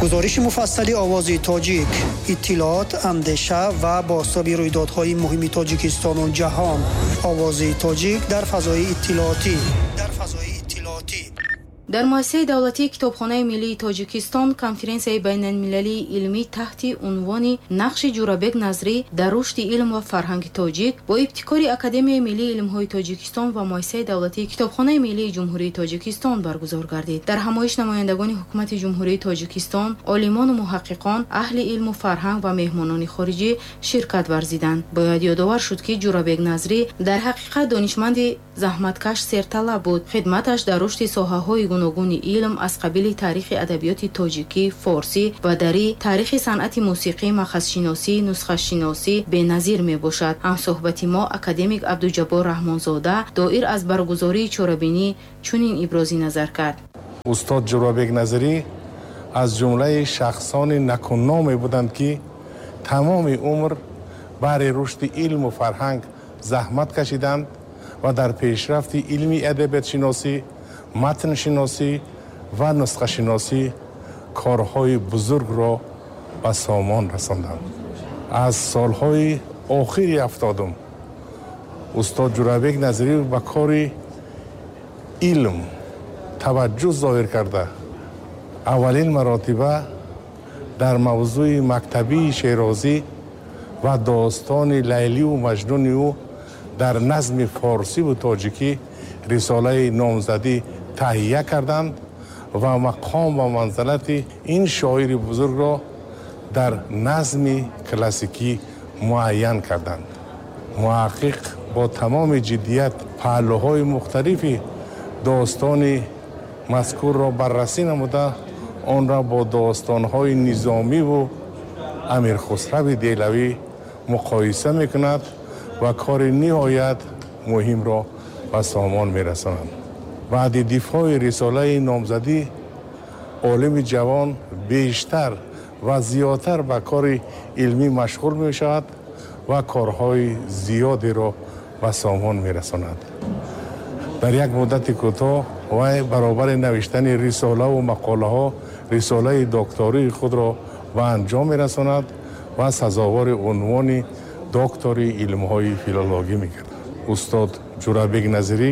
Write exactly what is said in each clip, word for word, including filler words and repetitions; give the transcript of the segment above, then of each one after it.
Гузориши муфассали Овози Тоҷик, иттилоот, андеша ва бозтоби рӯйдодҳои муҳими Тоҷикистону ҷаҳон. Овози Тоҷик дар фазои иттилоотӣ. Дар фазои иттилоотӣ. Дар муассисаи давлатии Китобхонаи миллии Тоҷикистон конференсияи байналмилалии илмӣ таҳти унвони «Нақши Ҷӯрабек Назрӣ дар рушди илм ва фарҳанги тоҷик» бо ибтикори Академияи миллии илмҳои Тоҷикистон ва муассисаи давлатии Китобхонаи миллии Ҷумҳурии Тоҷикистон баргузор гардид. Дар ҳамоиш намояндагони ҳукумати Ҷумҳурии Тоҷикистон, олимону муҳаққиқон, аҳли илму фарҳанг ва меҳмонони хориҷӣ ширкат варзиданд. Бояд ёдовар шуд, ки Ҷӯрабек Назрӣ дар ҳақиқат донишманди заҳматкаш, серталаб буд. Хидматаш дар рушди соҳаҳои гуногуни илм аз қабили таърихи адабиёти тоҷикӣ, форсӣ ва дарӣ, таърихи санъати мусиқӣ, махазшиносӣ, нусхашиносӣ беназир мебошад. Ҳамсӯҳбати мо, академик Абдуҷаббор Раҳмонзода, доир аз баргузории чорабинӣ чунин ибрози назар кард. Устод Ҷӯрабек Назрӣ аз ҷумлаи шахсони накуноме буданд, ки тамоми умр баҳри рушди илму фарҳанг заҳмат кашиданд ва дар пешрафти илми адабиётшиносӣ, матншиносӣ ва нусхашиносӣ корҳои бузургро ба сомон расонданд. Аз солҳои охири ҳафтодум устод Ҷӯрабек Назрӣ ба кори илм таваҷҷӯҳ зоҳир карда, аввалин маротиба дар мавзӯи мактабии Шерозӣ ва достони Лайливу Маҷнуни ӯ дар назми форсиву тоҷикӣ рисолаи номзадӣ таҳия карданд ва мақом ва манзалати ин шоири бузургро дар назми классикӣ муайян карданд. Муҳаққиқ бо тамоми ҷиддият паҳлӯҳои мухталифи достони мазкурро баррасӣ намуда, онро бо достонҳои Низомиву Амирхусрави Деҳлавӣ муқоиса мекунад ва кори ниҳоят муҳимро ба сомон мерасонанд. Баъди дифои рисолаи номзадӣ олими ҷавон бештар ва зиёдтар ба кори илмӣ машғул мешавад ва корҳои зиёдеро ба сомон мерасонад. Дар як муддати кӯтоҳ вай баробари навиштани рисолаву мақолаҳо рисолаи доктории худро ба анҷом мерасонад ва сазовори унвони доктори илмҳои филологӣ мегардад. Устод Ҷӯрабек Назрӣ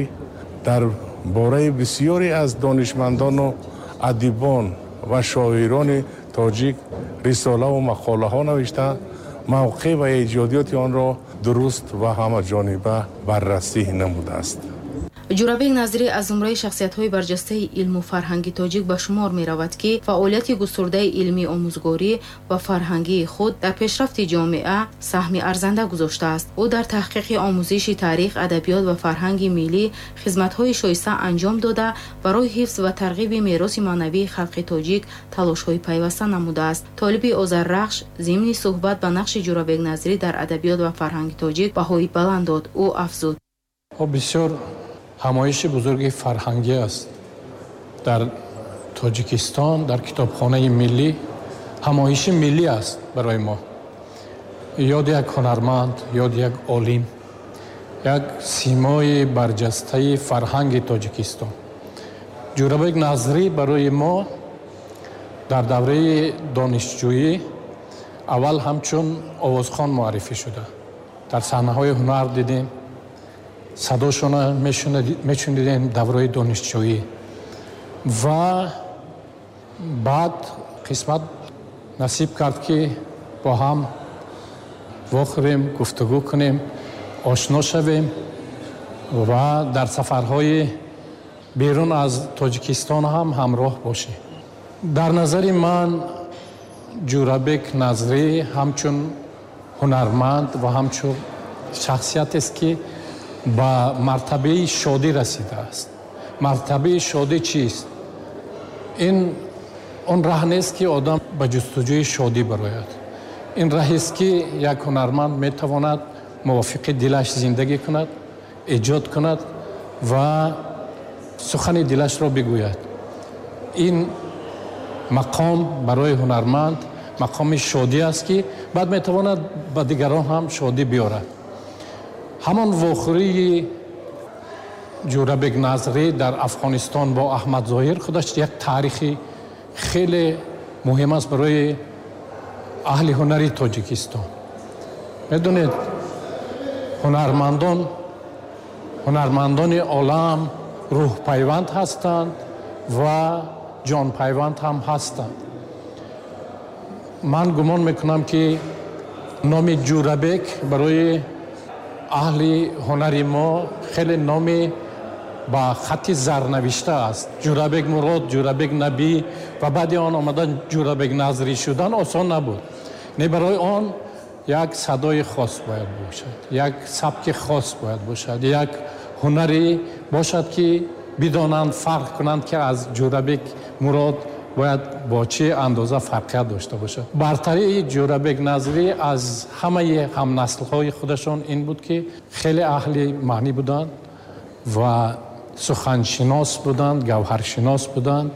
дар бораи бисёре аз донишмандону адибон ва шоирони тоҷик рисолаву мақолаҳо навишта, мавқеъ ва эҷодиёти онро дуруст ва ҳамаҷониба баррасӣ намудааст. Ҷӯрабек Назрӣ аз зумраи шахсиятҳои барҷастаи илму фарҳанги тоҷик ба шумор меравад, ки фаъолияти густурдаи илмии омӯзгорӣ ва фарҳангии худ дар пешрафти ҷомеа саҳми арзанда гузоштааст. Ӯ дар таҳқиқи омӯзиши таърих, адабиёт ва фарҳанги миллӣ хизматҳои шоиста анҷом дода, барои ҳифз ва тарғиби мероси маънавии халқи тоҷик талошҳои пайваста намудааст. Толиби Озаррахш зимни суҳбат ба нақши Ҷӯрабек Назрӣ дар адабиёт ва фарҳанги тоҷик баҳои баланд дод. Ӯ афзуд: бисёр ҳамоиши бузурги фарҳангӣ аст дар Тоҷикистон, дар Китобхонаи миллӣ. Ҳамоиши миллӣ аст барои мо. Ёди як ҳунарманд, ёди як олим, як симои барҷастаи фарҳанги Тоҷикистон. Ҷӯрабек Назрӣ барои мо дар давраи донишҷӯӣ аввал ҳамчун овозхон муаррифӣ шуда. Дар саҳнаҳои ҳунар дидем, садошона мешунидем давраи донишҷӯӣ ва баъд қисмат насиб кард, ки бо ҳам вохӯрем, гуфтугӯ кунем, ошно шавем ва дар сафарҳои берун аз Тоҷикистон ҳам ҳамроҳ бошем. Дар назари ман Ҷӯрабек Назрӣ ҳамчун ҳунарманд ва ҳамчун шахсиятест, ки ба мартабаи шодӣ расидааст. Мартабаи шодӣ чист? Ин он раҳ нест, ки одам ба ҷустуҷӯи шодӣ барояд. Ин раҳест, ки як ҳунарманд метавонад мувофиқи дилаш зиндагӣ кунад, эҷод кунад ва сухани дилашро бигӯяд. Ин мақом барои ҳунарманд мақоми шодӣ аст, ки баъд метавонад ба дигарон ҳам шодӣ биёрад. Ҳамон вохӯрии Ҷӯрабек Назрӣ дар Афғонистон бо Аҳмад Зоҳир худаш як таърихи хеле Муҳим аст барои аҳли ҳунари Тоҷикистон. Медонед, ҳунармандон ҳунармандони олам рӯҳпайванд ҳастанд ва ҷонпайванд ҳам ҳастанд. Ман гумон мекунам, ки номи Ҷӯрабек барои аҳли ҳунари мо хеле номи ба хатти зарнавишта аст. Ҷӯрабек Мурод, Ҷӯрабек Набӣ ва баъди он омадан Ҷӯрабек Назрӣ шудан осон набуд. Не, барои он як садои хос бояд бошад, як сабки хос бояд бошад, як ҳунаре бошад, ки бидонанд, фарқ кунанд, ки аз Ҷӯрабек Мурод бояд бо чӣ андоза фарқият дошта бошад. Бартарии Ҷӯрабек Назрӣ аз ҳамаи ҳамнаслҳои худашон ин буд, ки хеле аҳли маънӣ буданд ва суханшинос буданд, гавҳаршинос буданд.